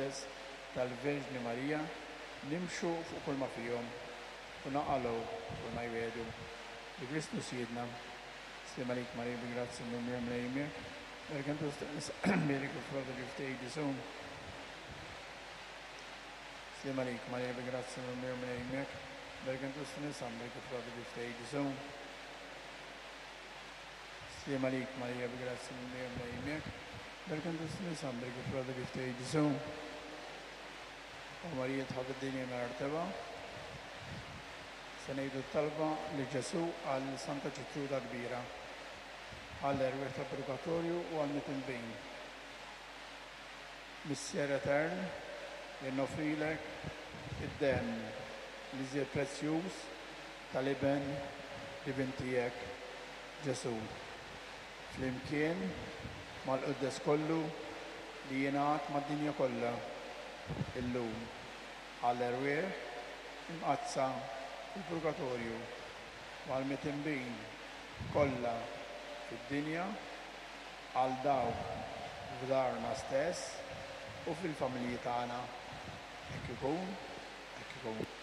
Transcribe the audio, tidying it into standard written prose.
Imqaddes tal-Verġni Marija nimxu fuq kulma fihom u naqalgħu kulma jwiegħdu. Bi Kristu Sidna. Sliem għalik Marija bi grazzja mimlija Mulej miegħek. Barka int fost in-nisa mbierek hu frott ġuf tiegħek Ġesù. Sliem għalik Marija bi grazzja mimlija Mulej miegħek. Barka int fost in-nisa mbierek hu frott ġuf tiegħek Ġesù. Sliem għalik Marija bi grazzja mimlija Mulej miegħek. Barka int fost in-nisa mbierek hu frott ġuf tiegħek Ġesù. O Marija tħobb id-dinja mingħajr tebgħa. Se ngħidu t-talba li Ġesù qal lil Santa Ġetruda l-Kbira, għall-erwieħ tal-purgatorju u għall-mitinbin. Missier etern, jien noffrilek id-demm l-iżjed prezzjuż tal-Iben divin tiegħek, Ġesù, flimkien mal-quddes kollu li jingħad mad-dinja kollha illum. Għall-erwieħ imqaddsa fil-purgatorju u għall-mitinbin kollha fid-dinja, għal dawk f'darna stess u fil-familji tagħna. Hekk ikun, hekk ikun.